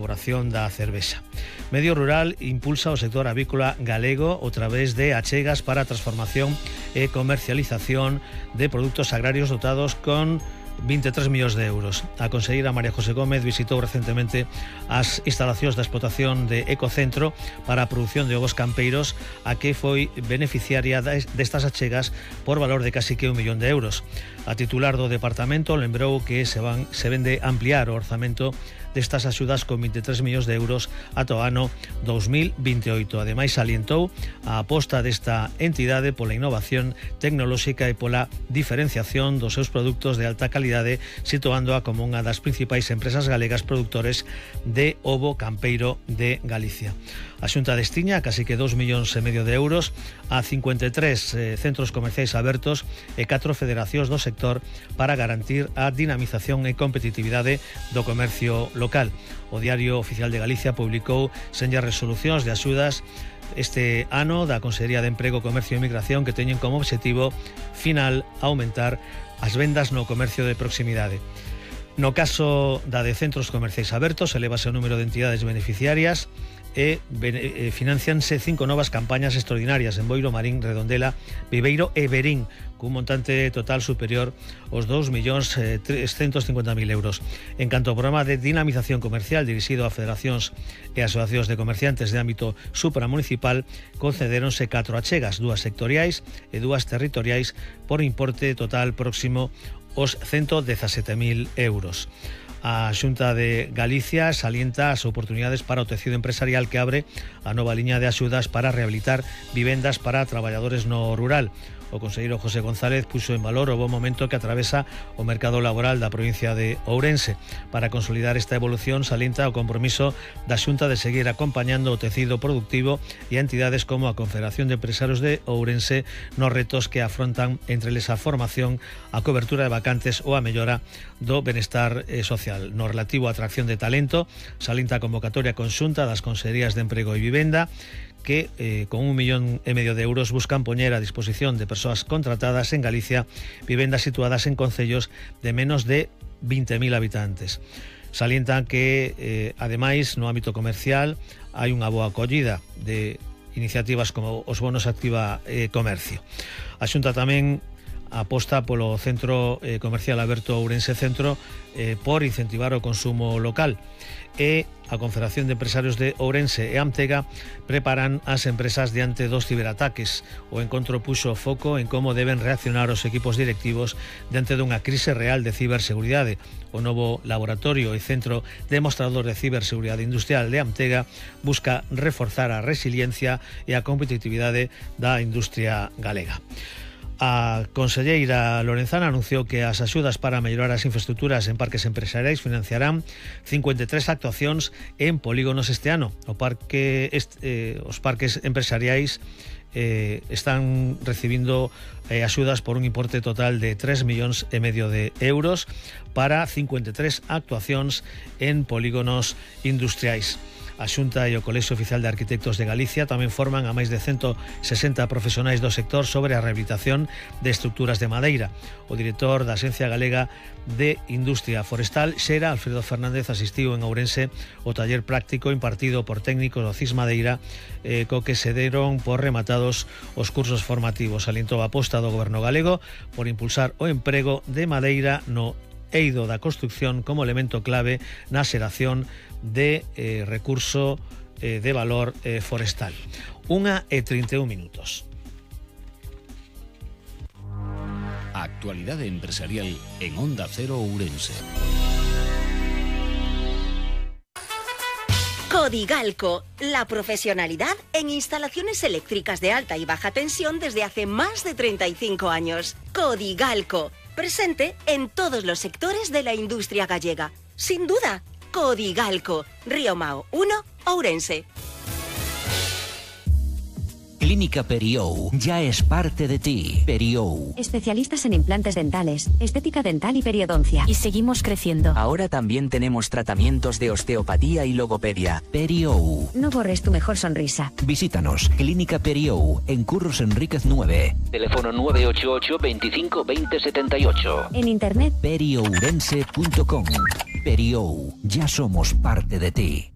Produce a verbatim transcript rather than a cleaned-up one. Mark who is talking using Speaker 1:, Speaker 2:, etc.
Speaker 1: elaboración da cervexa. Medio Rural impulsa o sector avícola galego a través de achegas para a transformación e comercialización de produtos agrarios dotados con veintitrés millóns de euros. A conselleira María José Gómez visitou recentemente as instalacións da explotación de Ecocentro para a produción de ovos campeiros, a que foi beneficiaria destas achegas por valor de casi que un millón de euros. A titular do departamento lembrou que se van se vende ampliar o orzamento destas axudas con veintitrés millóns de euros ata o ano dos mil veintioito. Ademais, salientou a aposta desta entidade pola innovación tecnolóxica e pola diferenciación dos seus produtos de alta calidade, situándoa como unha das principais empresas galegas produtores de ovo campeiro de Galicia. A Xunta destiña casi que dous millóns e medio de euros a cincuenta e tres eh, centros comerciais abertos e catro federacións do sector para garantir a dinamización e competitividade do comercio local. O Diario Oficial de Galicia publicou senllas resolucións de axudas este ano da Consellería de Emprego, Comercio e Migración, que teñen como objetivo final aumentar as vendas no comercio de proximidade. No caso da de centros comerciais abertos, elevase o número de entidades beneficiarias e eh, financianse cinco novas campañas extraordinarias en Boiro, Marín, Redondela, Viveiro e Verín, cun montante total superior aos dous millóns trescentos cincuenta mil euros. En canto ao programa de dinamización comercial dirixido a federacións e asociacións de comerciantes de ámbito supramunicipal, concedéronse catro achegas, dúas sectoriais e dúas territoriais, por importe total próximo aos ciento dezasete mil euros. A Xunta de Galicia salienta as oportunidades para o tecido empresarial que abre a nova liña de axudas para rehabilitar vivendas para traballadores no rural. O conselleiro José González puxo en valor o bo momento que atravesa o mercado laboral da provincia de Ourense. Para consolidar esta evolución, salienta o compromiso da Xunta de seguir acompañando o tecido productivo e a entidades como a Confederación de Empresarios de Ourense nos retos que afrontan, entre eles a formación, a cobertura de vacantes ou a mellora do benestar eh, social. No relativo á atracción de talento, salienta a convocatoria conxunta das Consellerías de Emprego e Vivenda, que eh, con un millón e medio de euros buscan poñer a disposición de persoas contratadas en Galicia vivendas situadas en concellos de menos de vinte mil habitantes. Salientan que, eh, ademais, no ámbito comercial hai unha boa acollida de iniciativas como os bonos Activa eh, Comercio. A Xunta tamén aposta polo centro eh, comercial aberto Ourense Centro eh, por incentivar o consumo local, e a Confederación de Empresarios de Ourense e Amtega preparan as empresas diante dos ciberataques. O encontro puxo foco en como deben reaccionar os equipos directivos diante dunha crise real de ciberseguridade. O novo laboratorio e centro demostrador de ciberseguridade industrial de Amtega busca reforzar a resiliencia e a competitividade da industria galega. A conselleira Lorenzana anunciou que as axudas para mellorar as infraestructuras en parques empresariais financiarán cincuenta e tres actuacións en polígonos este ano. O parque, este, eh, os parques empresariais eh, están recibindo eh, axudas por un importe total de tres millóns e medio de euros para cincuenta e tres actuacións en polígonos industriais. A Xunta e o Colexio Oficial de Arquitectos de Galicia tamén forman a máis de ciento sesenta profesionais do sector sobre a rehabilitación de estructuras de madeira. O director da Axencia Galega de Industria Forestal, Xera Alfredo Fernández, asistiu en Ourense o taller práctico impartido por técnicos do CIS Madeira, eh, co que se deron por rematados os cursos formativos. Alientou a aposta do Goberno galego por impulsar o emprego de madeira no eido da construcción como elemento clave na xeración de eh, recurso eh, de valor eh, forestal. Unha e trinta e un minutos.
Speaker 2: Actualidade empresarial en Onda Cero Ourense.
Speaker 3: Codigalco, la profesionalidad en instalaciones eléctricas de alta y baja tensión desde hace más de treinta y cinco años. Codigalco, presente en todos los sectores de la industria gallega. Sin duda, Codigalco, Río Mao uno, Ourense.
Speaker 4: Clínica Periou ya es parte de ti. Periou.
Speaker 5: Especialistas en implantes dentales, estética dental y periodoncia.
Speaker 6: Y seguimos creciendo.
Speaker 7: Ahora también tenemos tratamientos de osteopatía y logopedia.
Speaker 4: Periou.
Speaker 5: No borres tu mejor sonrisa.
Speaker 4: Visítanos, Clínica Periou, en Curros Enríquez nueve. Teléfono nueve ocho ocho, veinticinco, veinte, setenta y ocho.
Speaker 5: En internet
Speaker 4: periourense punto com. Periou, ya somos parte de ti.